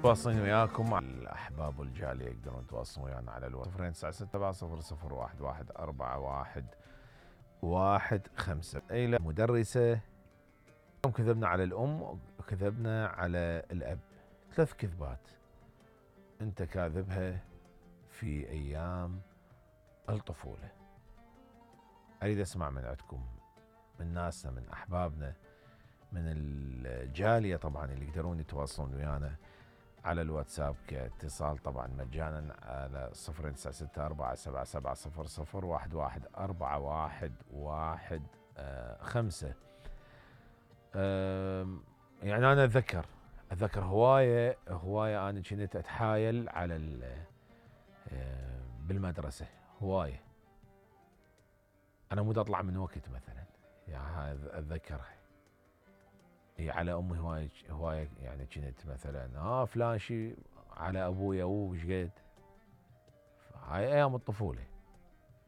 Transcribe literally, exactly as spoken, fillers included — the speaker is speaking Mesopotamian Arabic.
واصلين وياكم على الاحباب والجاليه يقدرون يتواصلون ويانا على الواتس صفر تسعة ستة صفر صفر واحد واحد أربعة واحد واحد خمسة. اي مدرسه يوم كذبنا على الام وكذبنا على الاب، ثلاث كذبات انت كاذبها في ايام الطفوله. اريد اسمع من عندكم، من ناسنا، من احبابنا، من الجاليه طبعا اللي يقدرون يتواصلون ويانا على الواتساب كاتصال طبعا مجانا على صفر تسعة ستة أربعة سبعة سبعة صفر صفر واحد واحد أربعة واحد واحد خمسة. يعني انا اتذكر اتذكر هوايه هوايه انا كنت اتحايل على بالمدرسه هوايه. انا مود اطلع من وقت مثلا، يعني اتذكرها هي على امي هوايه هوايه، يعني كنت مثلا ها فلان شي على ابويا وش قد. هاي ايام الطفوله.